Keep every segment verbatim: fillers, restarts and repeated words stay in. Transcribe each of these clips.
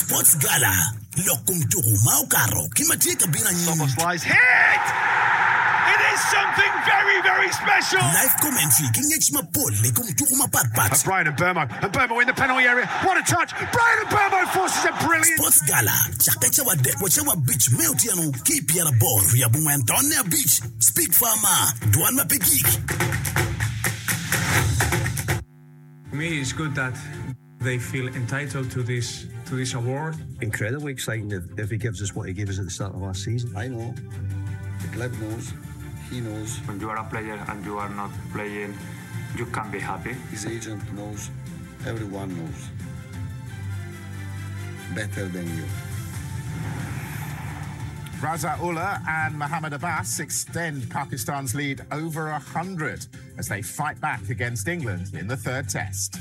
Sports Gala, lok kom tuku ma okato ki ma tye ka bino anyim. Hit! It is something very, very special. Live commentary ki ngec mapol i kom tuku mapatpat. Bryan Mbeumo, and Mbeumo in the penalty area. What a touch! Bryan Mbeumo forces a brilliant. Sports Gala, cakke cawa adek wa cawa abic me otyeno ki pyeraboro wiye abongwen tonne abic. Speak Farmer, dwan ma pe gik. For me, it's good that they feel entitled to this to this award. Incredibly exciting if, if he gives us what he gave us at the start of last season. I know, the club knows, he knows, When you are a player and you are not playing, you can be happy. his agent knows, everyone knows. Better than you. Raza Ullah and Mohammad Abbas extend Pakistan's lead over a hundred as they fight back against England in the third test.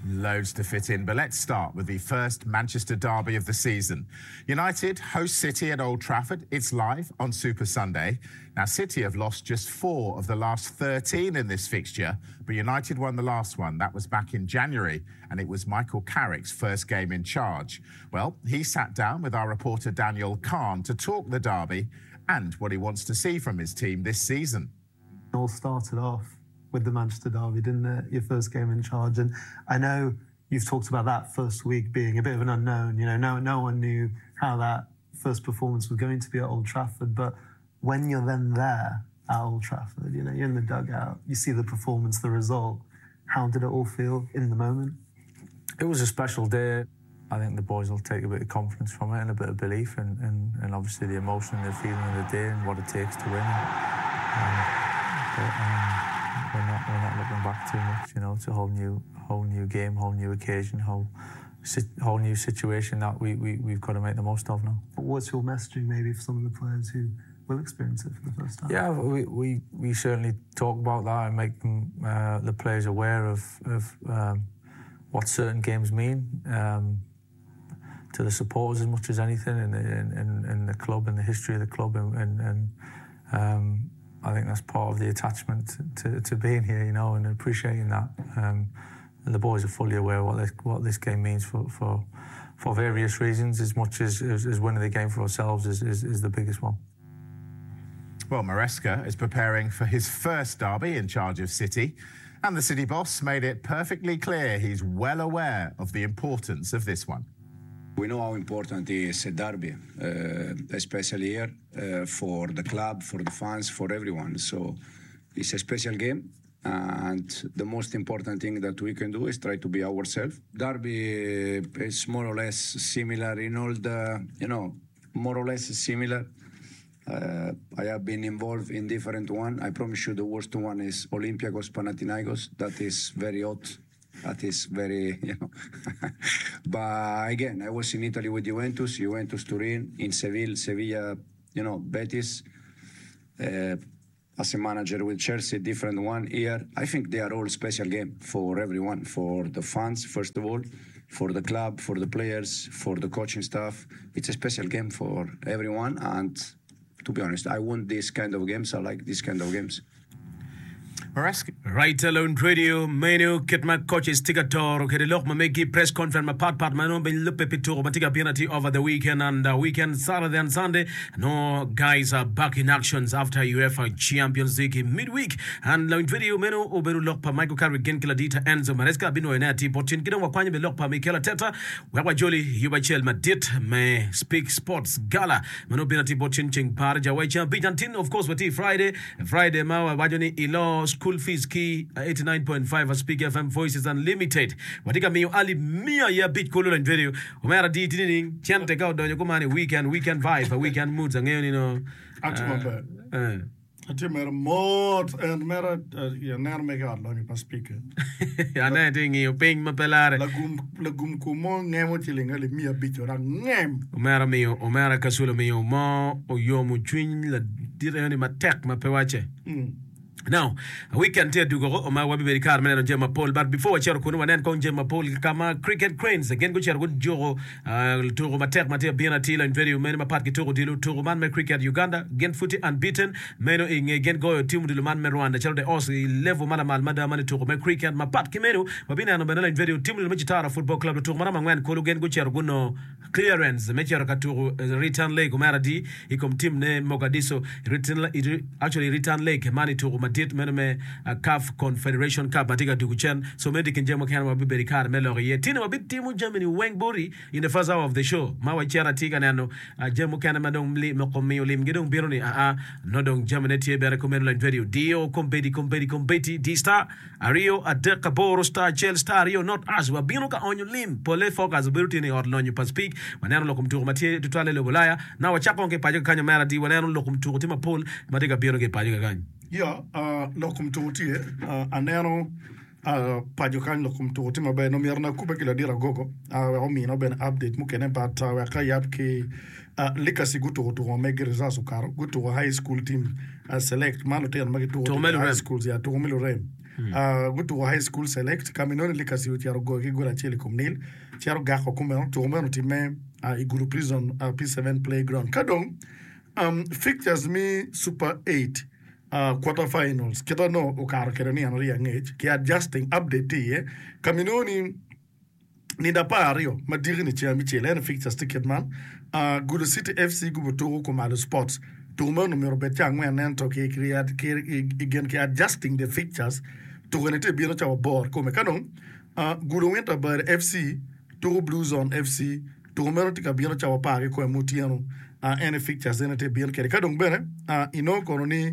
Loads to fit in, but let's start with the first Manchester derby of the season. United host City at Old Trafford. It's live on Super Sunday. Now, City have lost just four of the last thirteen in this fixture, but United won the last one. That was back in January, and it was Michael Carrick's first game in charge. Well, he sat down with our reporter Daniel Khan to talk the derby and what he wants to see from his team this season. It all started off with the Manchester derby, didn't it? Your first game in charge. And I know you've talked about that first week being a bit of an unknown. You know, no, no one knew how that first performance was going to be at Old Trafford. But when you're then there at Old Trafford, you know, you're in the dugout, you see the performance, the result. How did it all feel in the moment? It was a special day. I think the boys will take a bit of confidence from it and a bit of belief and, and, and obviously the emotion and the feeling of the day and what it takes to win. Um, but um, we're not we're not looking back too much. You know, it's a whole new whole new game, whole new occasion, whole whole new situation that we, we, we've got to make the most of now. But what's your messaging maybe for some of the players who will experience it for the first time? Yeah, we, we, we certainly talk about that and make them, uh, the players aware of, of um, what certain games mean um, to the supporters as much as anything, and in, in, in the club and the history of the club, and, and, and um, I think that's part of the attachment to, to being here, you know, and appreciating that. Um, and the boys are fully aware what this, what this game means for, for, for various reasons, as much as, as, as winning the game for ourselves is, is, is the biggest one. Well, Maresca is preparing for his first derby in charge of City, and the City boss made it perfectly clear he's well aware of the importance of this one. We know how important is a derby, uh, especially here, uh, for the club, for the fans, for everyone. So it's a special game, and the most important thing that we can do is try to be ourselves. Derby is more or less similar in all the, you know, more or less similar. Uh, I have been involved in different one. I promise you the worst one is Olympiacos Panathinaikos. That is very hot. That is very, you know. But again, I was in Italy with Juventus, Juventus Turin, in Seville, Sevilla, you know, Betis. Uh, as a manager with Chelsea, different one here. I think they are all special game for everyone, for the fans, first of all, for the club, for the players, for the coaching staff. It's a special game for everyone, and to be honest, I want this kind of games. I like this kind of games. Maresca. Right Alone Radio meno kit ma coaches tye ka toro kede lok ma megi press conference mapat pat ma nongo bene lubbe pi tuko ma tye ka bino atir over the weekend and uh, weekend Saturday and Sunday no guys are back in actions after UEFA Champions League midweek and Lawiny Radio meno obedo lok pa Michael Carrick gin ki ladita Enzo Maresca binwoyo ne atir bot cen ki dong wakwanyo be lok pa Mikel Arteta wek wajoli yub acel madit me Speak Sports Gala ma nongo bino atir bot cen ceng par jawai ceng abic until of course watye Friday Friday ma wawaco ni ilo school fees ki eighty-nine point five Speak F M Voices Unlimited watye ka miyo alip miya i abic kulu Lawiny Radio omera di tini ni cente ka odonyo kumani weekend weekend vibe weekend moods angeyo ni no Atye maber. eh. Atye mere mot en mere eh, aneno mege ot lonyo pa speaker. Aneno tye ngiyo piny ma pe lare. Lagum lagum kum mo ngemo ciling alip miya abic ora ngem. Omera miyo omera Kasule omiyo mo oyomo cwiny ladit eno ni matek ma pe wace. Mm. Now, weekend tye adugo ko ma wabibedo i kare me neno jami mapol but before wacito kunu wanen kong jami mapol ka ma Cricket Cranes gin gucito gujuko uh, tuko matek ma tye abino atir lony video meno mapat ki tuko odilo tuko man me cricket Uganda gin pud tye unbeaten meno i nge gin goyo tim odilo man me Rwanda calo the Os i level ma lamal mada man i tuko me cricket mapat ki meno wabineno bene lony video tim odilo me Kitara Football Club lutuko maromo angwen kulu gin gucito gunongo clearance me cito ka tuko return leg omera adi i kom tim ne Mogadishu return, actually return leg man i tuko madit meno me uh, CAF Confederation Cup ma tye ka dugo cen so meno tye kin jami mukene wabibedo i kare me lok iye tini wabitimo jami ni weng boti in the first hour of the show ma wacito atye ka neno uh, jami mukene ma dong li, moko miyo limgi dong bino ni aa no dong jamine tye bene kumeno lony radio dio kombedi kombedi kombedi di star aryo adek aboro star acel star aryo not us wabino ka onyo lim pole focus obedo tye ni ot lonyo pa speak waneno lok kom tuko ma tye tutwalle i lobo Ulaya na wacako ki paco kakanyo mera di waneno lok kom tuko tye mapol ma tye ka bino ki paco kakany Ya, uh, lok kom tuko tye uh, aneno uh, paco kany lok kom tuko tye maber no myero nakube ki ladit agogo uh, wek omina bene update mukene but uh, wek ayab ki uh, Likasi gutuko tuko ma megi results okato gutuko high school team uh, select man lutino ma gituko Tuko me high lurem. schools ya tuko me lurem uh, gutuko high school select kama inoni Likasi ocito goyo ki gol acel i kom nil cito gako kumeno tuko meno otimme uh, i Gulu prison uh, P seven playground. Ka dong um, fixtures mi Super eight uh, quarter finals kita no okato kede ni an aryo angec ki adjusting update tye iye kaminoni nindo apar aryo ma diki ni ceng abicel en fixtures tye kit man uh, Gulu City F C gubo tuko Kumalo Sports tuko meno myero obed ca angwen ento ki, ki, ki, ki, gin ki adjusting the fixtures tuko ni tye bino cawa aboro kome ka dong uh, Gulu Winter Bird F C tuko Blue Zone F C tuko meno tye ka bino cawa apar ki kome mutyeno uh, en fixtures ene tye bino kede ka dong bene uh, inongo kono ni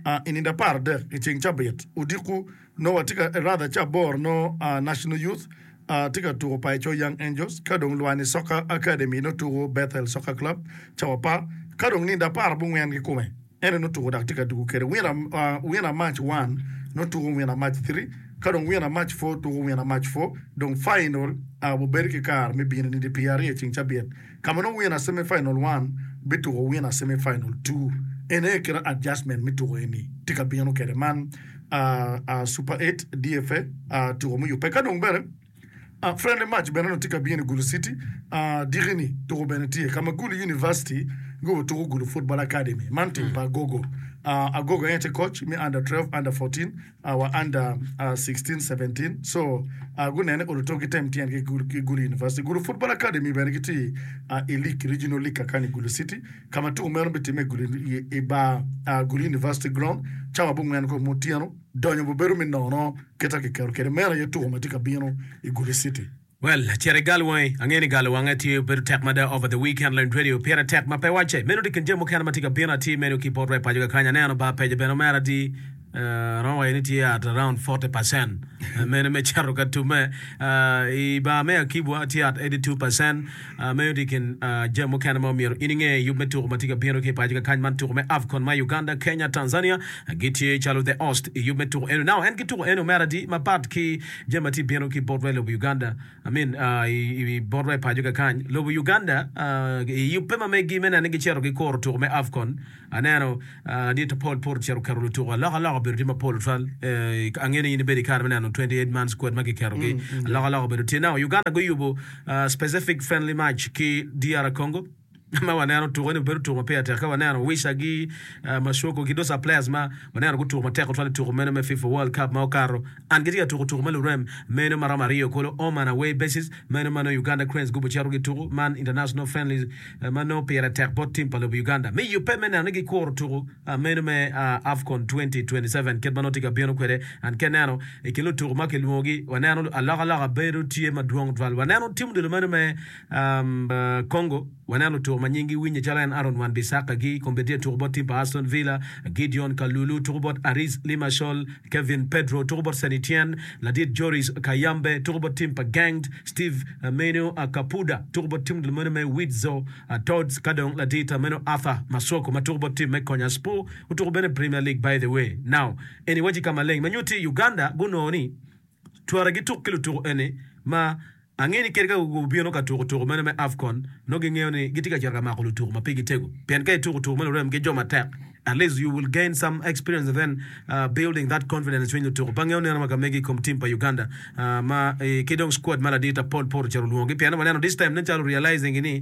uh, i nindo apar adek i ceng cabit odiko no watye ka rather ca aboro no uh, National Youth uh, tye ka tuko Paicho Young Angels ka dong Lwani Soccer Academy no tuko Bethel Soccer Club cawa apar ka dong nindo apar abongwen ki kome ene no tuko dak tye ka dugo kede winner, uh, winner match one no tuko winner match three ka dong winner match four tuko winner match four dong final uh, bobedo ki kare me bino nindo piero aryo i ceng cabit kama no winner semi final one bituko winner semi final two ene kira adjustment mi tuko eni tye ka bino kede man uh, uh, Super eight D F A uh, tuko muyubbe ka dong bene Uh, friendly match bene no tye ka bino i Gulu City uh, dikini tuko bene tye kama Gulu University gubo tuko Gulu Football Academy man team pa Agogo uh, Agogo en tye coach mi under twelve, under fourteen uh, wa under uh, sixteen, seventeen so uh, gunene oluto gitem tyen ki Gulu, ki Gulu University. Gulu Football Academy bene gitye uh, i league regional league kakani i Gulu City kama tuko meno bitimme i Gulu i, i bar uh, Gulu University ground cawa abongwen ko mutyeno donyo bobedo mi nono kita kiketo kede meno aye tuko ma tye ka bino i Gulu City. Well, cere gal wangi, angeni gal wange tye bedo tek mada over the weekend lony radio pire tek ma pe wacce. Meno di kin jami mukene ma tye ka bino atir meno ki bot paco kakany aneno ba peje bene omera di uh, romo waco ni tye at around forty percent uh, meno me cito ka tume uh, i bar me Akibwa tye at eighty-two percent uh, meno di kin uh, jami mukene ma omyero in inge yub me tuko ma tye ka bino ki paco kakany man tuko me AFCON ma Uganda, Kenya, Tanzania uh, gitye calo the host i yub me tuko eno. Now en ki tuko eno omera di mapat ki jami ma tye bino ki bot lobo Uganda, I mean uh, i, i bot paco kakany lobo Uganda uh, i yubbe ma megi me neno ni gicito gikuro tuko me AFCON aneno uh, ladit Paul Pur ocito keto lutuko alokaloka obedo tye mapol tutwal eh, angeyo ni in ibedo i kare me neno twenty-eight man squad ma giketogi Mm, mm. alokaloka obedo tye. Now Uganda guyubo uh, specific friendly match ki D R Congo ma waneno tuko ni obedo tuko ma pire tek ka waneno Wisa gi uh, Masuoko gi those are players ma waneno gutuko matek tutwal i tuko meno me FIFA World Cup ma okato an gitye ka tuko tuko me lurem meno maromo aryo kolo home and away basis meno ma nongo Uganda Cranes gubo cito gituko man international friendly uh, ma nongo pire tek bot team pa lobo Uganda me yubbe me neno ni gikuro tuko uh, meno me uh, AFCON twenty twenty-seven kit ma nongo tye ka bino kwede an ke neno i kin lutuko ma kilwongogi waneno alokaloka bedo tye madwong tutwal waneno tim odilo meno me um, uh, Congo waneno lutuko ma nyinggi winye calo en Aaron Wan Bissaka gi kombeddi tye tuko bot team pa Aston Villa, Gideon Kalulu tuko bot Aris Limassol, Kevin Pedro tuko bot Saint Etienne, ladit Joris Kayambe tuko bot team pa Genk, Steve uh, Meno uh, Kapuda tuko bot team meno me Widzo uh, Tods ka dong ladit uh, meno Arthur Masuaku ma tuko bot team me Konyaspor otuko bene Premier League, by the way. Now eni waci ka maleng ma nyutti Uganda gunongo ni twara gituk ki lutuko eni ma Angeyo ni kadi ka gubino ka tuko tuko meno me AFCON, nongo gingeyo ni gitye ka cito ka mako lutuko ma pigi tego. Pien ka ituko tuko me lurem ki jo matek, at least you will gain some experience and then uh, building that confidence i cwiny lutuko. Pe angeyo neno ma ka megi i kom team pa Uganda uh, ma eh, ki dong squad ma ladit Paul Poro ocito olwongogi. Pien waneno this time nen calo realizing ni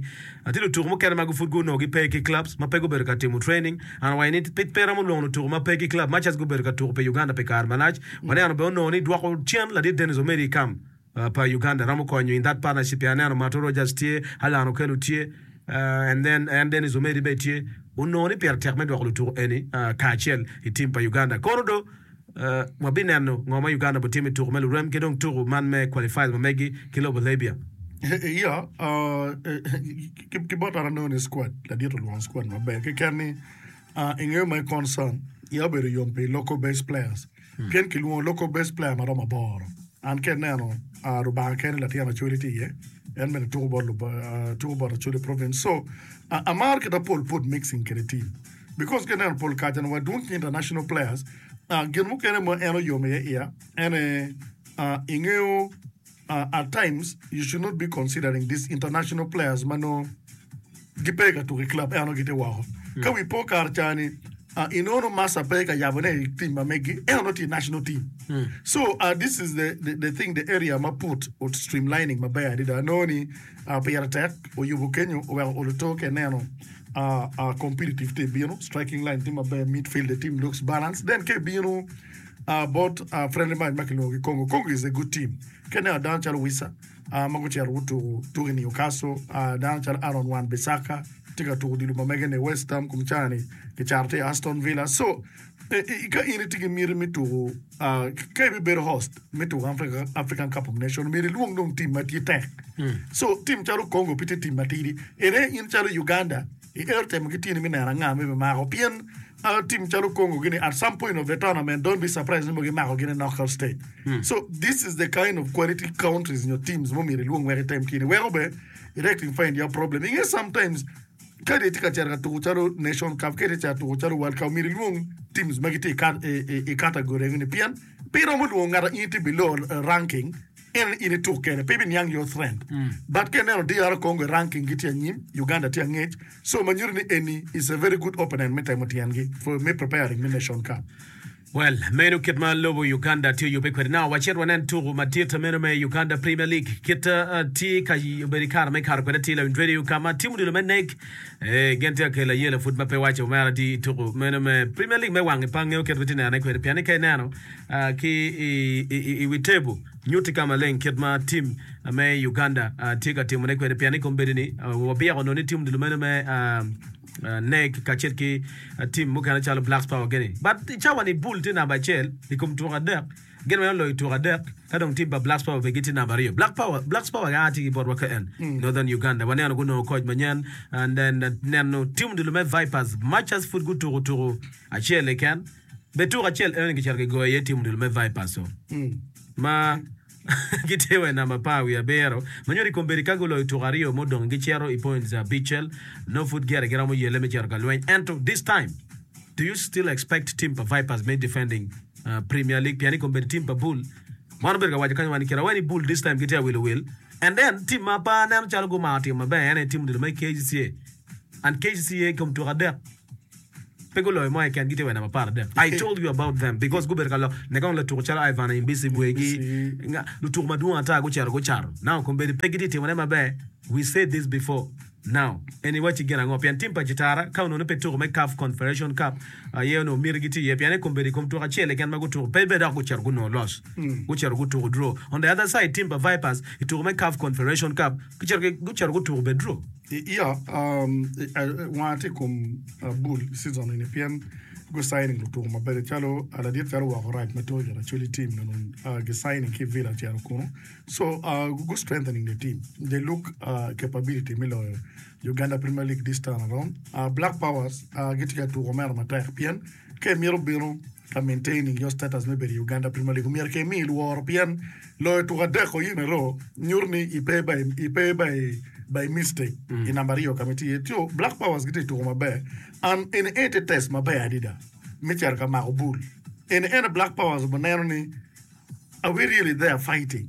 tye lutuko mukene ma pud gunongo gipe ki clubs ma pe gubedo ka timo training. An awaco ni pe pe romo lwongo lutuko ma pe ki club much as gubedo ka tuko pi Uganda pi kare malac. Waneno bene onongo ni dwoko cen ladit Dennis Omedi i kam uh, pa Uganda romo konyo in that partnership. Pien aneno Mato Rogers tye, Allan Okello tye, uh, and then en Dennis Omedi bene tye. Onongo ni pire tek me dwoko lutuko eni uh, kacel i team pa Uganda. Kono do uh, wabineno ngo ma Uganda botimo i tuko me lurem ki dong tuko man me qualifiers ma megi ki lobo Libya. Iya, uh, ki ki bot an anongo ni squad ladit olwongo squad maber keken ni uh, ingeyo my concern iya obedo yom pi local based players pien kilwongo local based player maromo aboro an ka ineno uh, Rubanga kene latin Acholi tye iye en bene tuko bot Lub- uh, tuko bot Acholi province so uh, amaro kit Paul put mixing kede team because ka ineno pol kaca ni wadwong ki international players uh, gin mukene ma en oyomo iye iya ene uh, ingeyo uh, at times you should not be considering these international players ma no gipe ka tuko i club eno gitye woko ka wi po kare cani uh, inono masa pe ka yabone i team ma megi eno tye national team so uh, this is the, the, the thing the area ma put ot streamlining maber adada anongo ni uh, pire tek oyubo kenyo oweko oluto ke neno uh, uh, competitive te bino striking line tye maber midfield the team looks balanced then ke bino uh, bot uh, friendly match ma kilwongo ki Congo Congo is a good team ke neno dano calo Wissa uh, ma gucito gutuko tuko i Newcastle uh, dano calo Aaron Wan Bissaka tye ka tuko odilo ma mege ni West Ham kum cani kicato tye i Aston Villa so eh, eh, ka in itye ki miti me tuko uh, ka ibibedo host me tuko Africa, African Cup of Nations myero ilwong dong team ma tye tek so team calo Congo pe tye team matidi ene in calo Uganda iero temo ki tyeni me neno anga ma ibimako pien uh, team calo Congo gini at some point of the tournament don't be surprised ni mo gimako gini knockout stage so this is the kind of quality countries nyo teams mo myero ilwong wek item tyeni weko be rectify your problem inge sometimes ka di tye ka cito ka tuko calo nation cup ka di tye ka tuko calo world cup myero ilwong teams ma gitye i cat- i- i- i category ni pien pe iromo lwongo ng'ato in itye below uh, ranking en in ituk kene pe ibiniang your trend but ka ineno DR Congo i ranking gitye anyim Uganda tye angec so ma nyuto ni eni is a very good opponent me temo tyengi for me preparing me nation cup Well, meno kit ma lobo Uganda tye oyubbe kwede. Now, wacit wanen tuko madit meno me Uganda Premier League. Kit uh, tye ka obedo i kare me kato kwede tye lawiny radio ka ma tim odilo me NEC eh, gin tye ka kelo ayela pud ma pe waco omera di tuko meno me Premier League me wang i pa ngeo kit ma tye nenone kwede. Pien ni ka ineno uh, ki i, i, i, i wi table nyutti ka maleng kit ma tim me Uganda uh, tye ka timone kwede. Pien ni kombeddi ni uh, wabyeko nongo ni tim odilo meno me uh, uh, NEC kacel ki uh, team mukene calo Blacks Power gini. But i cawa ni Bull tye namba acel i kom tuko adek gin weng oloyo tuko adek ka dong team pa Blacks Power be gitye namba aryo. Black Power Blacks Power ga tye ki botwa ka en Northern Uganda waneno gunongo coach manyen and then uh, neno team odilo me Vipers much as pud gutuko tuko acel keken be tuko acel eno gicito gigoyo iye team odilo me Vipers so ma gitye wa i namba apar wiye abiro ma nyuto i kombeddi ka guloyo tuko aryo mudong gicito i points abicel no pud gire giromo yelle me cito ka lweny ento this time do you still expect team pa Vipers me defending uh, Premier League pien i kombeddi team pa Bull wan obedo ka waco kanyo wan kira weni Bull this time gitye awilo wil and then team ma pa neno calo gumako timo maber en aye team odilo me KCCA and KCCA kom tuko adek pe guloyo mo keken gitye wa i namba apar adek I told you about them because gubedo ka lok ne kong latuko calo Ivan Imbisi bwegi nga- lutuko madwong ata gucito gucato now kombeddi pe gitye timone maber we said this before now en iwacci gin ango pien team pa Kitara ka onongo pe tuko me CAF Confederation Cup aye onongo miti gitye iye pien i kombeddi i kom tuko acel keken ma gutuko pe be dok gucito gunongo loss gucito gutuko draw on the other side team pa Vipers i tuko me CAF Confederation Cup gucito gucito gutuko be draw Iya, um, wanga tye i kom uh, Bull season eni pien gu signing lutuko maber calo uh, ladit calo woko rac ma tuko i Acholi team nono uh, gi signing ki Villa cito kunu so uh, gu strengthening the team they look uh, capability me loyo Uganda Premier League this time around uh, Black Powers uh, gitye ka tuko meno matek pien ka imito bino ka maintaining your status me bedo i Uganda Premier League omyero ke imi lworo pien loyo tuko adek o in a row nyuto ni ipe by ipe by by mistake i namba aryo kama itye iye so Black Powers gitye tuko maber and eni en tye test maber adada me cito ka mako Bull eni ene Black Powers obineno ni are we really there fighting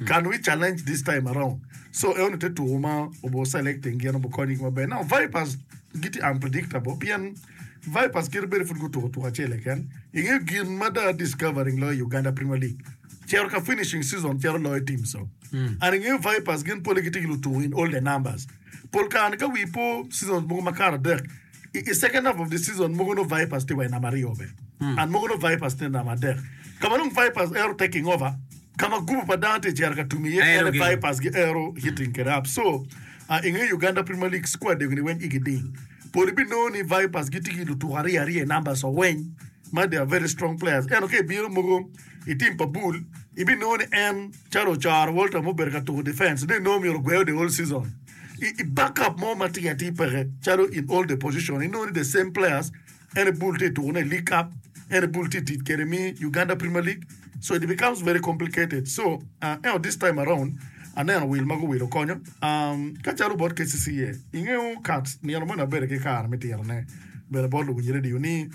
Can we challenge this time around? So eno te tuko ma obo selecting gin obo konyo gi maber. Now Vipers gitye unpredictable pien Vipers kite bedo pud gutuko tuko acel keken. Ingeyo gin ma dong discovering loyo Uganda Premier League. Cero ka finishing season cero loyo team so. And ingeyo Vipers gin pole gitye ki lutuko in all the numbers. Pol kare ka wi po season mogo ma kare adek i, i second half of the season mogo no Vipers tye wa i namba aryo be. And mogo no Vipers tye i namba adek. Kama dong Vipers ero taking over kama gubu pa dano tye cero ka tumi iye Ero ene gi. Vipers gi ero hitting kede up. So uh, ingeyo Uganda Premier League squad ni weng igi ding. Pol ibinongo ni Vipers gitye ki lutuko aryo aryo i numbers oweny ma they are very strong players. Eno ka ibino mogo i team pa Bull ibinongo ni en calo Ocharo Walter mobedo ka tuko defense ne inongo myero ogweo the whole season. I, i backup mo ma tye atir peke calo in all the position inongo ni the same players ene Bull tye tuko ne League Cup ene Bull tye tic kede mi Uganda Premier League so it becomes very complicated. So uh, eno this time around aneno wil ma guwilo konyo um, ka calo bot K C C A ingeo kat nino mo nabedo ki kare me tirone bene bot luwinj radio ni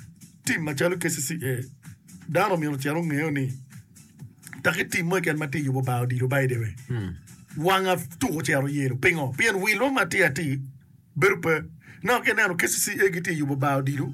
team macalo K C C A dano myero ocito ongeyo ni taki team mo keken ma tye yubo bar odilo by the way wanga tuko cero yelo pingo pien wil mo ma tye atir bedo pe no ka ineno K C C A gitye yubo bar odilo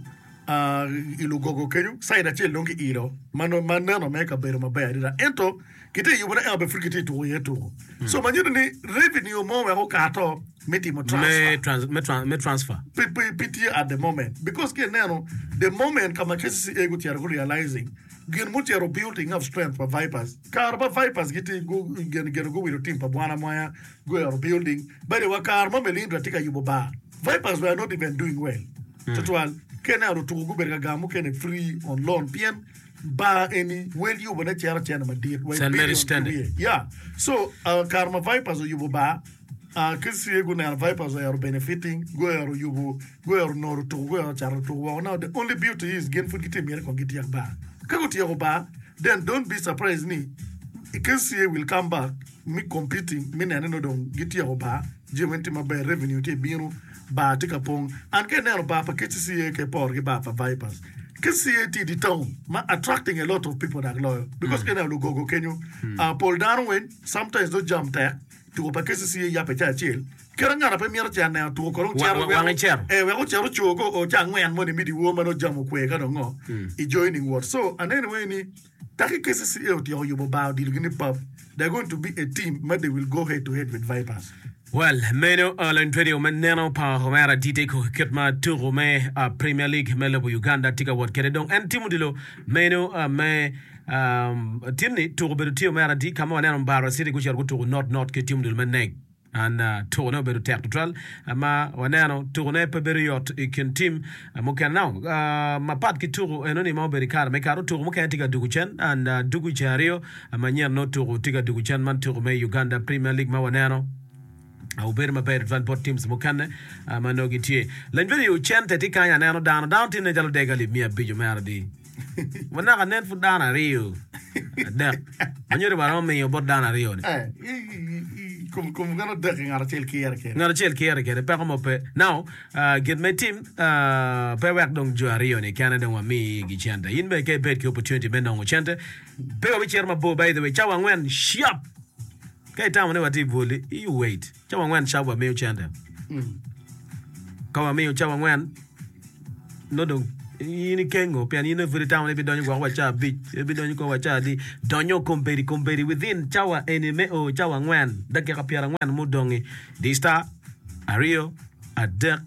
uh, i Lugogo kenyo side acel dong kiilo ma no- ma neno me kabedo maber adada ento gitye yubone ento be pud gitye tuko iye tuko so manyuto ni revenue mo wek okato me timo transfer Me, trans, me, tran, me transfer. pi pi pi tye at the moment because ki ineno the moment kama K C C A gutyero gu realizing gin mutyero building up strength pa Vipers kare pa Vipers gitye gu gin gin guwilo team pa Bwana Mwaya guero building by the way kare mo Melindra tye ka yubo bar Vipers were not even doing well tutwal ka ineno lutuko gubedo ka gamo mukene free on loan pien bar eni wel yubone cero cene madit wa i Saint Mary's billion Standard. ki wiye. Yeah, so uh, kare ma Vipers oyubo bar uh, K C C A guneno Vipers oero benefiting guero yubo guero noro tuko guero cato tuko woko. Now the only beauty is gin pud gitye myero kong gityek bar ka gutyeko bar then don't be surprised ni K C C A will come back me competing mi nene no dong gityeko bar jami tye maber revenue tye bino bar tye ka pong and ka ineno bar pa K C C A ke por ki bar pa Vipers K C C A tye di town ma attracting a lot of people dak loyo because ka ineno Lugogo kenyo uh, pol dano weng sometimes do jam tek tuko pa K C C A yape ca acel kera ng'ato pe mito cen neno tuko kono Wa- wa- wange cero. eh wek ocero cogo o ca angwen moni mi diwor ma nojamo kwe ka dong ngo i joining ward so aneno weng ni taki K C C A otyeko yubo bar odilo gini pub they're going to be a team ma they will go head to head with Vipers. Well, meno uh, lony radio me neno pa Homera D T ko kit ma tuko me uh, Premier League me lobo Uganda tye ka wot kede dong en timo dilo meno uh, me um, tinni tuko bedo tye Omera D kama waneno Mbarara City gucito gutuko not not ki timo dilo me NEC an uh, tukone obedo tek tutwal uh, ma waneno tukone pe bedo yot i kin tim uh, mukene now uh, mapat ki tuko enoni ma obedo i kare me kato tuko mukene tye ka dugo cen and uh, dugo ceng aryo uh, manyen no tuko tye ka dugo cen man tuko me Uganda Premier League ma waneno obedo maber tutwal bot teams mukene uh, ma nongo gitye lany video cente tye kany aneno dano dano tye ne calo dek alip miya abic omera di wanaka nen pud dano aryo adek manyuto waromo miyo bot dano aryo ni eh i- i- i- kum kum gano dek ngat acel kire kede ngat acel kire kede peko mo pe now uh, gin me tim uh, pe wek dong jo aryo ni kene dong wamiyi gi cente in be ke ibed ki opportunity me nongo cente pe wabicito mabor. By the way, cawa angwen sharp ka itamo ni watye i bwoli you wait cawa angwen sharp wamiyo cente ka wamiyo cawa angwen no dong in ikengo pien in pud itamo ni ibidonyo gwoko wa ca abic ibidonyo ko wa ca adi donyo kombedi kombedi within cawa eni me o cawa angwen dakika pyera angwen mudongi di star aryo adek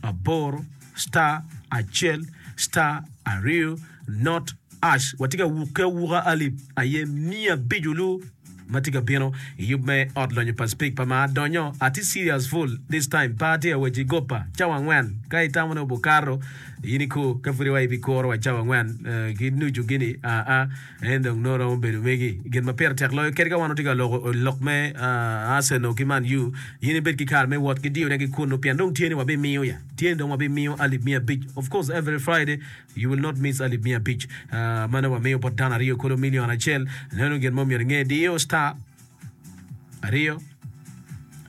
aboro star acel star aryo not hash watye ka wukke awuka alip aye miya abic olu ma tye ka bino i yub me ot lonyo pa Spik pa ma donyo atye serious full this time pa atye awaci gopa cawa angwen ka itamo ni obukato in ikur ka pud iwa ibikuro wa cawa angwen eh, ki nucu gini aa en dong nongo romo bedo megi gin ma pire tek loyo kadi ka wan watye ka loko lok me ah, Arsenal ki Man U in ibed ki kare me wot ki diyone ki kunu pien dong tye ni wabimiyo ya tye ni dong wabimiyo alip miya abic. Of course, every Friday you will not miss alip miya abic uh, mano wamiyo bot dano aryo kolo million acel neno gin mo myero inge diyo star aryo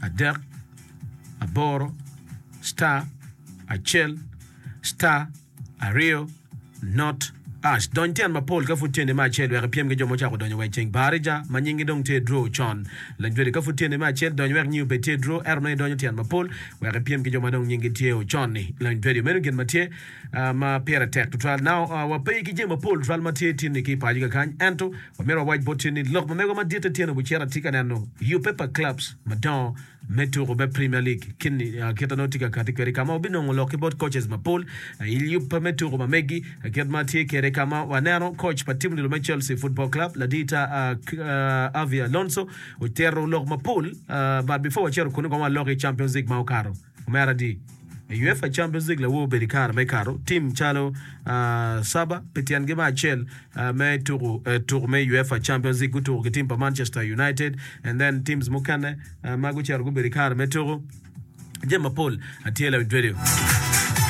adek aboro star acel star aryo not Ash, dony tyen mapol ka pud tyeni me acel wek ipyem ki jo ma ocako donyo wa i ceng. Barija, ma nyingi dong tye i draw con. Lanywedo, ka pud tyeni me acel, dony wek nyingi obed tye i draw, ento nongo idonyo tyen mapol wek ipyem ki jo ma dong nyingi tye ocon-ni. Lanywedo, meno gin ma tye ma pire tek tutwal. Now, wape ki jami mapol tutwal ma tye tin-ni ki i paco kakany, ento wamito wawac bot tin ni lok ma megwa maditte tyen obucito atye ka neno yubbe pa clubs madongo me tuko me Premier League kit ma nongo tye ka kati kwede ka ma wabinongo lok ki bot coaches mapol i yub me tuko ma megi kit ma tye kwede ka ma waneno coach pa tim odilo me Chelsea Football Club ladita Xavi Alonso otito lok mapol but before wacito kunu kong walok i Champions League ma okato omera adi I UEFA Champions League lawor obedo i kare me kato tim calo Saba pi tyengi me acel me tuko tuko me UEFA Champions League gutuko ki tim pa Manchester United and then teams mukene ma gucito gubedo i kare me tuko jami mapol tye lawiny radio.